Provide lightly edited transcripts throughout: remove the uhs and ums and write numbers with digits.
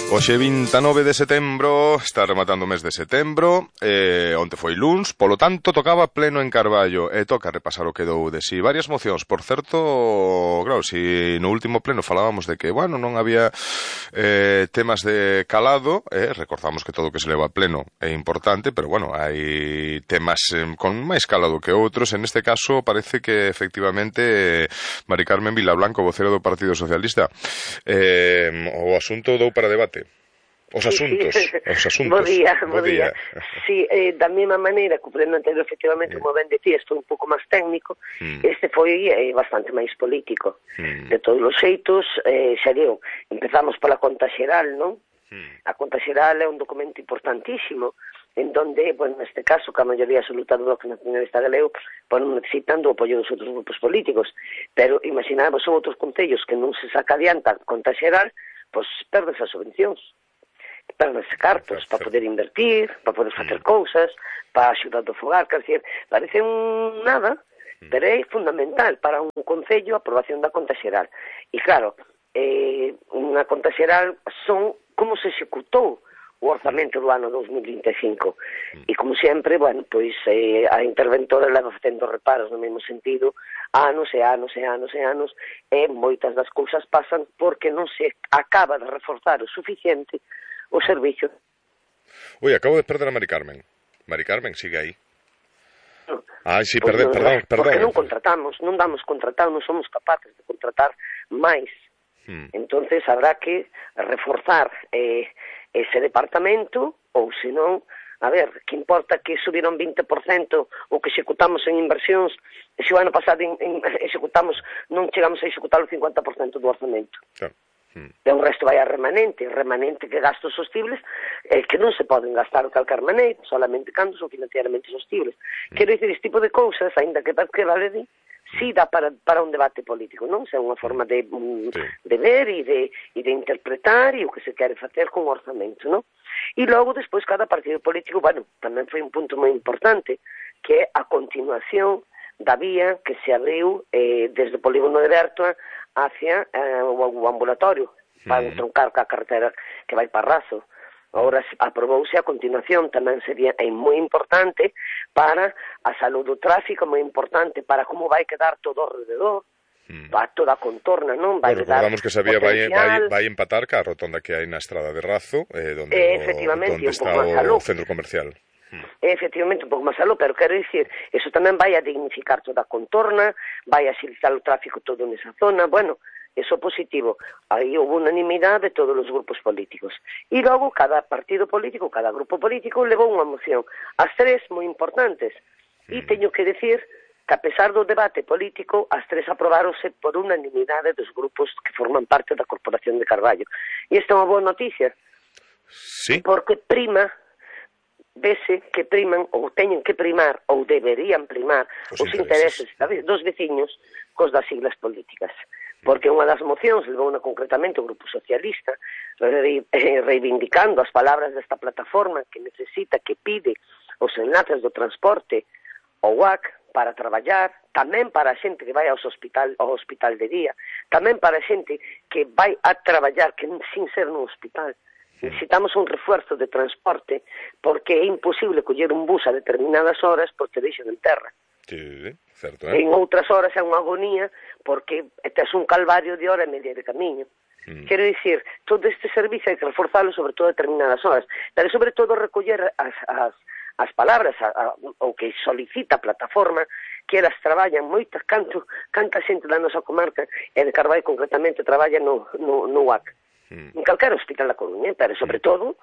Hoxe 29 de setembro, está rematando o mes de setembro, onte foi luns, polo tanto tocaba pleno en Carballo, e toca repasar o que dou de si. Varias mocións, por certo, claro, si no último pleno falábamos de que, bueno, non había temas de calado, recordamos que todo o que se leva a pleno é importante, pero bueno, hai temas con máis calado que outros. En este caso parece que efectivamente Mari Carmen Vilablanco, vocera do Partido Socialista, o asunto dou para debate. Os asuntos. Bo día. Sí, da mesma maneira que o pleno anterior, efectivamente, como ben decías, foi un pouco máis técnico, este foi bastante máis político. De todos os xeitos, xa digo, empezamos pola conta xeral, non? A conta xeral é un documento importantísimo, en donde, bueno, neste caso, que a maioría absoluta do Bloque Nacionalista Galego, bueno, necesitan do apoio dos outros grupos políticos, pero imaginamos son outros concellos que non se saca adiante a conta xeral, pois perdes as subvencións. Perdes cartos para poder invertir, para poder facer cousas, para axudar do fogar, quer dizer, parece un nada, pero é fundamental para un concello a aprobación da conta xeral. E claro, unha conta xeral son como se executou o orzamento do ano 2025. E como sempre, bueno, pois a interventora leva facendo reparos no mesmo sentido anos e anos e anos e anos, e moitas das cousas pasan porque non se acaba de reforzar o suficiente o servicio. Ui, acabo de perder a Mari Carmen. Mari Carmen, sigue aí. No. Ai, sí, perdón. Porque non contratamos, non damos contratado, non somos capaces de contratar máis. Entonces habrá que reforzar ese departamento, ou senón, a ver, que importa que subiron 20% o que executamos en inversións, e se o ano pasado executamos, non chegamos a executar o 50% do orzamento. Claro. E o resto vai a remanente que gastos sostibles que non se poden gastar o calcar maneiro, solamente cando son financieramente sostibles. Quero dicir, este tipo de cousas, ainda que vale di, si dá para un debate político, non? Se é unha forma de ver e de interpretar e o que se quere facer con o orzamento, non? E logo, despois, cada partido político, bueno, tamén foi un punto moi importante, que é a continuación da vía que se abriu desde o polígono de Bertoa hacia o ambulatorio para troncar ca carretera que vai para Razo. Agora aprobouse a continuación, tamén sería moi importante para a saúde do tráfico, moi importante para como vai quedar todo ao rededor, para toda a contorna, non? Vai recordamos que sabía vai empatar ca rotonda que hai na estrada de Razo, donde está o centro comercial. Efectivamente, un pouco máis aló, pero quero dicir, eso tamén vai a dignificar toda a contorna, vai a axilizar o tráfico todo nesa zona, bueno, eso positivo. Aí houve unanimidade de todos os grupos políticos. E logo, cada partido político, cada grupo político, levou unha moción. As tres moi importantes. E teño que decir que, a pesar do debate político, as tres aprobaronse por unanimidade dos grupos que forman parte da Corporación de Carballo. E esta é unha boa noticia. Sí. Porque vese que priman, ou teñen que primar, ou deberían primar, os intereses dos veciños cos das siglas políticas. Porque unha das mocións levou concretamente o Grupo Socialista reivindicando as palabras desta plataforma que necesita, que pide os enlaces do transporte ao UAC para traballar, tamén para a xente que vai ao hospital de día, tamén para a xente que vai a traballar que sin ser no hospital. Necesitamos un refuerzo de transporte porque é imposible coller un bus a determinadas horas porque deixan en terra. Sí, certo, En outras horas é unha agonía porque tes un calvario de hora e media de camiño. Quero dicir, todo este servicio hai que reforzalo sobre todo a determinadas horas, pero sobre todo recoller as palabras o que solicita a plataforma, que elas traballan moitas, canta xente da nosa comarca e de Carballo concretamente traballa no UAC. En calquera hospital da Coruña, pero sobre todo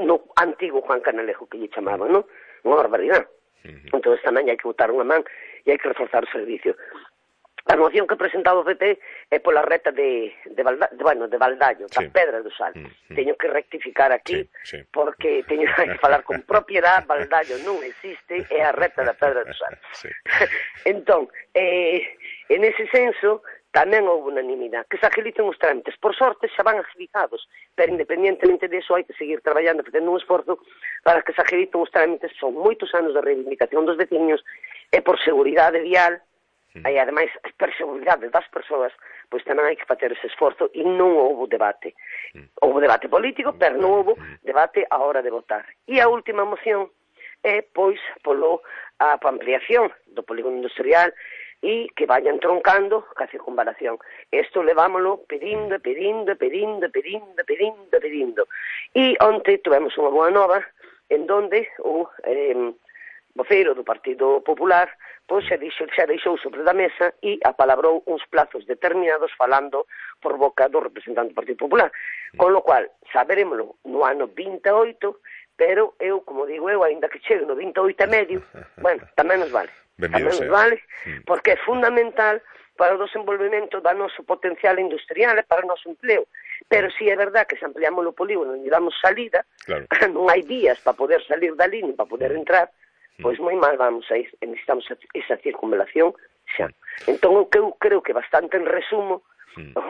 no antigo Juan Canalejo que lle chamaban, non? Unha barbaridade. Entón tamén hai que botar unha man e hai que reforzar o servicio. A moción que presentaba o PP é pola reta de Valdallo, da Pedra do Sal. Teño que rectificar aquí porque teño que falar con propiedade. Valdallo non existe, é a reta da Pedra do Sal. Entón, en ese senso tamén houve unanimidade, que se agilicen os trámites. Por sorte xa van agilizados, pero independientemente disso hai que seguir traballando, facendo un esforzo para que se agilicen os trámites. Son moitos anos de reivindicación dos veciños e por seguridade vial, e ademais por seguridade das persoas, pois tamén hai que facer ese esforzo e non houve debate. Houve debate político, pero non houve debate á hora de votar. E a última moción é, pois, polo a ampliación do polígono industrial e que vayan troncando ca circunvalación. Isto levámoslo pedindo. E onte tivemos unha boa nova en donde o voceiro do Partido Popular pois xa deixou sobre da mesa e apalabrou uns plazos determinados falando por boca do representante do Partido Popular. Con lo cual, saberémoslo no ano 28, pero eu, como digo eu, ainda que chegue no 28 e medio, bueno, tamén nos vale. Tamén nos vale, porque é fundamental para o desenvolvemento do noso potencial industrial e para o noso empleo. Pero si é verdad que se ampliamos o polígono e damos salida, claro, non hai vías para poder salir dali ni para poder entrar, pois moi mal vamos a ir, necesitamos esa circunvalación xa. Entón, eu creo que bastante en resumo,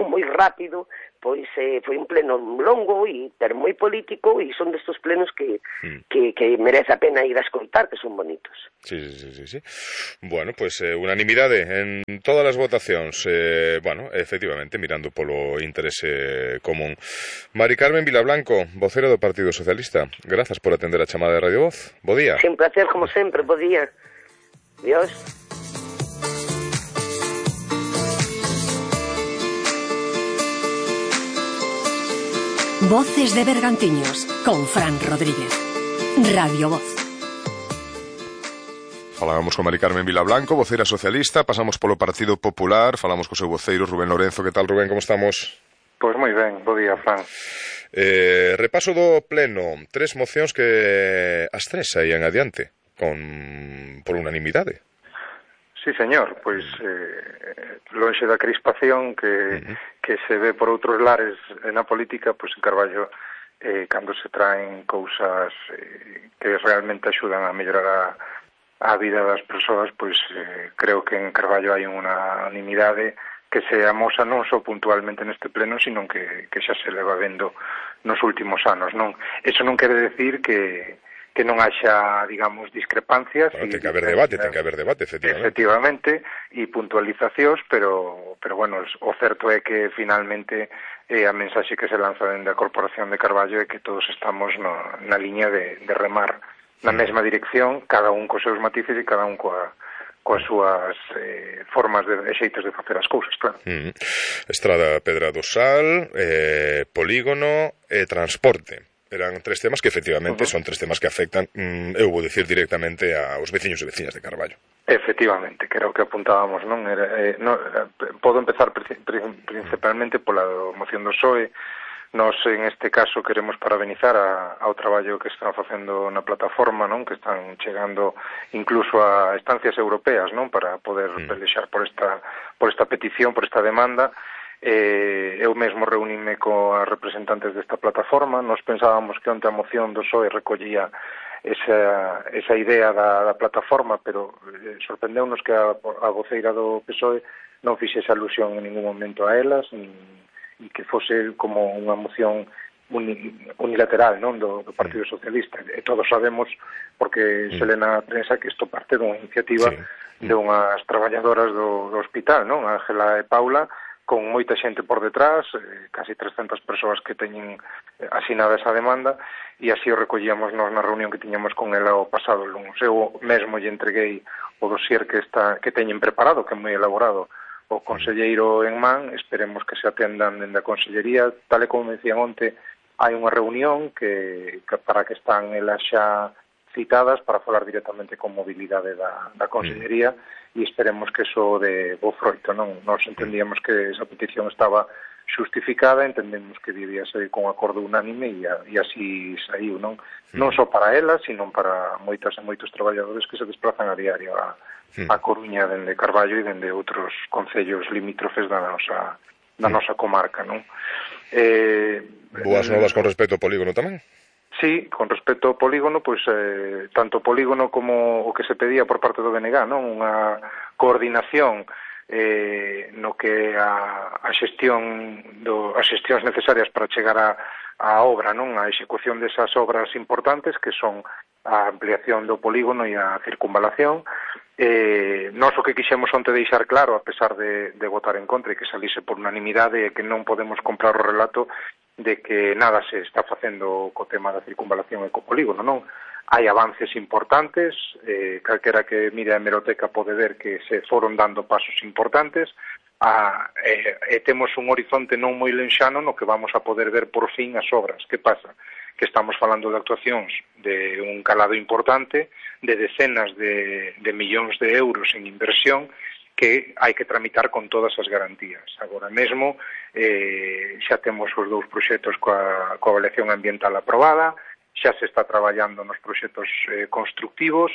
moi rápido, pois foi un pleno longo, pero moi político, e son destos plenos que merece a pena ir a escoitar, que son bonitos. Sí. Bueno, pues unanimidade en todas as votacións, bueno, efectivamente, mirando polo interese común. Mari Carmen Vilablanco, vocera do Partido Socialista, grazas por atender a chamada de Radio Voz. Bo día. Sin placer, como sempre, bo día. Dios. Voces de Bergantiños, con Fran Rodríguez. Radio Voz. Falábamos con Mari Carmen Vilablanco, vocera socialista, pasamos polo Partido Popular, falamos co seu voceiro Rubén Lorenzo. Que tal, Rubén, como estamos? Pois moi ben, bo día, Fran. Repaso do pleno, 3 mocións que as 3 saían adiante, por unanimidade. Sí, señor, pois lonxe da crispación que se ve por outros lares na política, pois en Carballo, cando se traen cousas que realmente axudan a mellorar a vida das persoas, pois creo que en Carballo hai unha unanimidade que se amosa non só puntualmente neste pleno, sino que xa se leva vendo nos últimos anos, non? Eso non quere decir que non haxa, digamos, discrepancias. Bueno, ten que haber debate, efectivamente, e puntualizacións, pero bueno, o certo é que finalmente a mensaxe que se lanza dende a Corporación de Carballo é que todos estamos na liña de remar na mesma dirección, cada un cos seus matices e cada un coas súas formas e xeitos de facer as cousas, claro. Estrada Pedra do Sal, polígono e transporte. Eran 3 temas que efectivamente son 3 temas que afectan, eu vou dicir directamente aos veciños e veciñas de Carballo. Efectivamente, que era o que apuntábamos, non? Podo empezar principalmente pola moción do PSOE. Nos, en este caso, queremos parabenizar ao traballo que están facendo na plataforma, non? Que están chegando incluso a instancias europeas, non? Para poder pelexar por esta petición, por esta demanda. Eu mesmo reuníme coas representantes desta plataforma. Nos pensábamos que onte a moción do PSOE recollía esa idea da plataforma, pero sorprendeunos que a voceira do PSOE non fixese alusión en ningún momento a elas, e que fose como unha moción unilateral, non, do Partido Socialista. E todos sabemos, porque se lê na prensa, que isto parte dunha iniciativa de unhas traballadoras do hospital, non, Ángela e Paula, con moita xente por detrás, casi 300 persoas que teñen asinada esa demanda, e así o recollíamos nós na reunión que tiñamos con ela o pasado lunes. Eu mesmo lle entreguei o dossier que teñen preparado, que é moi elaborado, o conselleiro en man. Esperemos que se atendan dende a consellería. Tal e como me decían onte, hai unha reunión que para que están elas xa citadas para falar directamente con mobilidade da consellería, e esperemos que eso de bo froito, non? Nos entendíamos que esa petición estaba xustificada, entendemos que debía ser con acordo unánime, e así saiu, non? Non só para elas, sino para moitas e moitos traballadores que se desplazan a diario a Coruña dende Carballo e dende outros concellos limítrofes da nosa comarca, non? Boas novas con respecto ao polígono tamén? Sí, con respecto ao polígono, pois tanto o polígono como o que se pedía por parte do BNG, non? Unha coordinación no que a xestión as xestións necesarias para chegar a obra, non? A execución desas obras importantes que son a ampliación do polígono e a circunvalación, Nós o que quixemos onte deixar claro, a pesar de votar en contra e que salise por unanimidade, é que non podemos comprar o relato de que nada se está facendo co tema da circunvalación e co polígono, non? Hai avances importantes, calquera que mire a hemeroteca pode ver que se foron dando pasos importantes, temos un horizonte non moi lenxano no que vamos a poder ver por fin as obras. Que pasa? Que estamos falando de actuacións de un calado importante, de decenas de millóns de euros en inversión que hai que tramitar con todas as garantías. Agora mesmo xa temos os dous proxectos coa avaliación ambiental aprobada, xa se está traballando nos proxectos constructivos,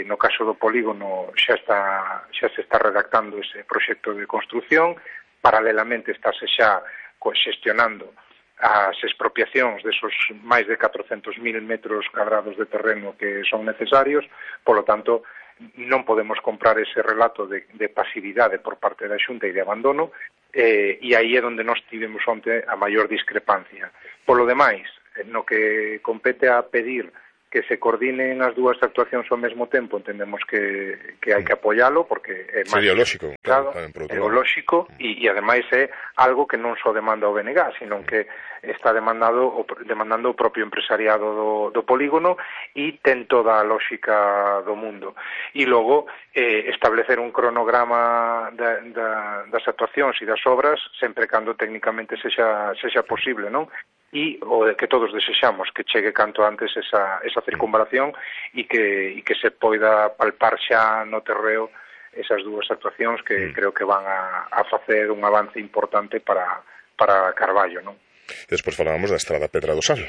no caso do polígono xa se está redactando ese proxecto de construción, paralelamente estáse xa xestionando as expropiacións desos máis de 400.000 metros cuadrados de terreno que son necesarios, polo tanto, non podemos comprar ese relato de pasividade por parte da Xunta e de abandono, e aí é onde nós tivemos onte a maior discrepancia. Polo demais, no que compete a pedir que se coordinen as dúas actuacións ao mesmo tempo, entendemos que hai que apoialo, porque é máis ideolóxico, claro, ideolóxico, e ademais é algo que non só demanda o BNG, sino que está demandando o propio empresariado do polígono e ten toda a lógica do mundo. E logo, establecer un cronograma das actuacións e das obras, sempre cando técnicamente sexa posible, non? E o que todos desexamos, que chegue canto antes esa circunvalación e que se poida palpar xa no terreo esas dúas actuacións que creo que van a facer un avance importante para Carballo, non? Despois falábamos da Estrada Pedra do Sal.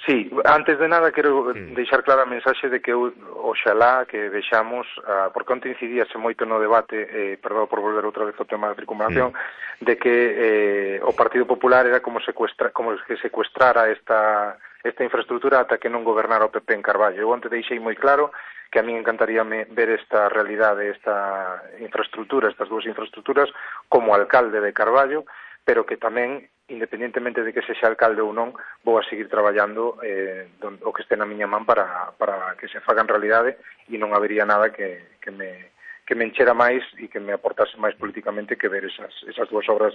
Sí, antes de nada quero deixar clara a mensaxe de que oxalá que vexamos, porque onte incidíase moito no debate, perdón por volver outra vez ao tema da circunvalación, de que o Partido Popular era como que secuestrara esta infraestructura ata que non gobernara o PP en Carballo. Eu onte deixei moi claro que a mí encantaría ver esta realidade, esta infraestructura, estas dúas infraestructuras, como alcalde de Carballo, pero que tamén, independentemente de que sexa alcalde ou non, vou a seguir traballando o que este na miña man para que se fagan realidade e non habería nada que me enchera máis e que me aportase máis políticamente que ver esas dúas obras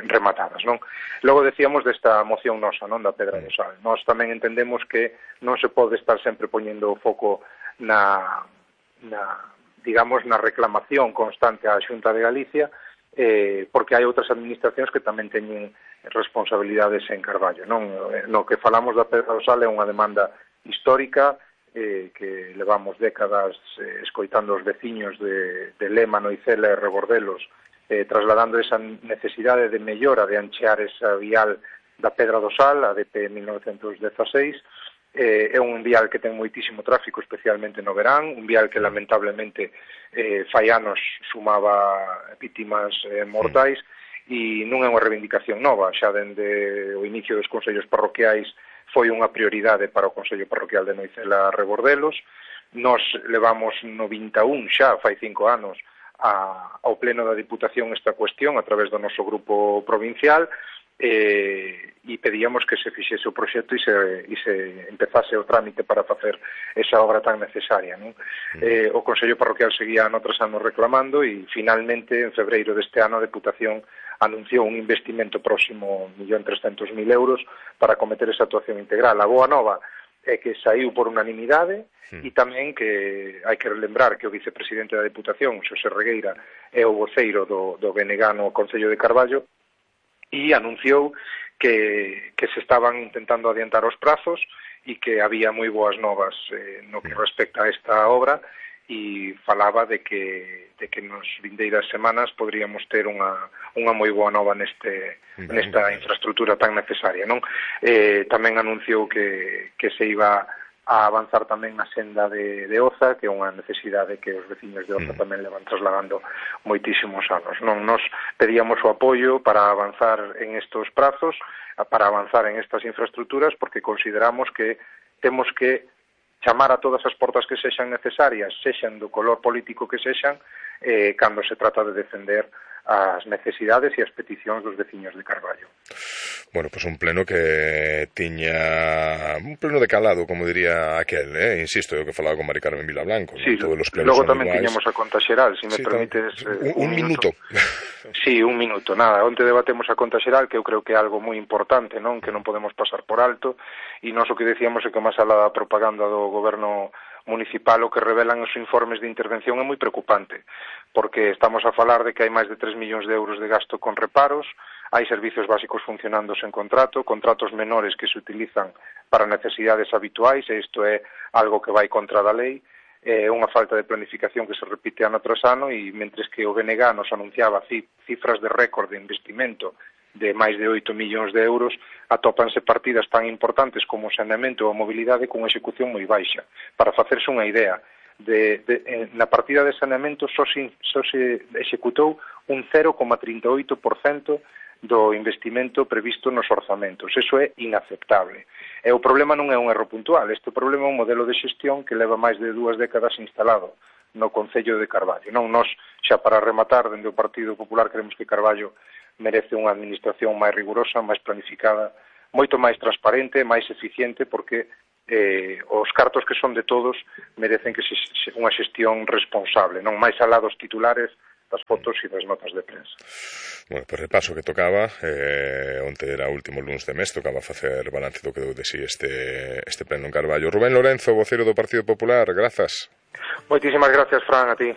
rematadas, non? Logo decíamos desta moción nosa, non, da Pedra do Sal. Nós tamén entendemos que non se pode estar sempre poñendo o foco na reclamación constante á Xunta de Galicia, porque hai outras administracións que tamén teñen responsabilidades en Carballo, non? No que falamos da Pedra do Sal é unha demanda histórica que levamos décadas escoitando os veciños de Lema, Noicela e Rebordelos, trasladando esa necesidade de mellora de anchear esa vial da Pedra do Sal, a DP 1916. É un vial que ten moitísimo tráfico, especialmente no verán, un vial que lamentablemente fai anos sumaba vítimas mortais, e non é unha reivindicación nova, xa dende o inicio dos consellos parroquiais foi unha prioridade para o Consello Parroquial de Noicela Rebordelos. Nos levamos 91 xa, fai 5 anos, ao Pleno da Diputación esta cuestión a través do noso grupo provincial, e pedíamos que se fixese o proxecto e se empezase o trámite para facer esa obra tan necesaria, non? O Consello Parroquial seguía ano tras ano reclamando e finalmente en febreiro deste ano a Deputación anunciou un investimento próximo 1.300.000 euros para acometer esa actuación integral. A boa nova é que saiu por unanimidade e tamén que hai que lembrar que o vicepresidente da Deputación, Xosé Regueira, é o voceiro do BNG no Concello de Carballo e anunciou que se estaban intentando adiantar os prazos e que había moi boas novas no que respecta a esta obra e falaba de que nos vindeiras semanas poderíamos ter unha moi boa nova nesta infraestructura tan necesaria, non? Tamén anunciou que se iba a avanzar tamén a senda de Oza, que é unha necesidade que os veciños de Oza tamén le van trasladando moitísimos anos, non? Nos pedíamos o apoio para avanzar en estos prazos, para avanzar en estas infraestructuras, porque consideramos que temos que chamar a todas as portas que sexan necesarias, sexan do color político que sexan, cando se trata de defender as necesidades e as peticións dos veciños de Carballo. Bueno, pois un pleno que tiña un pleno de calado, como diría aquel, insisto, eu que falaba con Mari Carmen Vilablanco, sí, todos os plenos logo son tamén iguais. tiñamos a conta xeral, se me permites un minuto. Sí, un minuto, nada, onte debatemos a conta xeral, que eu creo que é algo moi importante, non, que non podemos pasar por alto, e nós o que decíamos é que máis alá da propaganda do goberno municipal o que revelan os informes de intervención é moi preocupante, porque estamos a falar de que hai máis de 3 millóns de euros de gasto con reparos, hai servicios básicos funcionando sen contrato, contratos menores que se utilizan para necesidades habituais, e isto é algo que vai contra da lei, unha falta de planificación que se repite ano tras ano, e mentres que o BNG nos anunciaba cifras de récord de investimento de máis de 8 millóns de euros, atópanse partidas tan importantes como o saneamento ou a mobilidade con execución moi baixa. Para facerse unha idea, na partida de saneamento só se executou un 0,38% do investimento previsto nos orzamentos. Eso é inaceptable. E o problema non é un erro puntual, este problema é un modelo de xestión que leva máis de 2 décadas instalado no Concello de Carballo. Non, nós, xa para rematar, dende o Partido Popular, creemos que Carballo merece unha administración máis rigurosa, máis planificada, moito máis transparente, máis eficiente, porque os cartos que son de todos merecen que unha xestión responsable, non máis alá dos titulares, das fotos e das notas de prensa. Bueno, pois repaso que tocaba, onte era o último luns de mes, tocaba facer balance do que deu de si este pleno en Carballo. Rubén Lorenzo, voceiro do Partido Popular, grazas. Moitísimas gracias, Fran, a ti.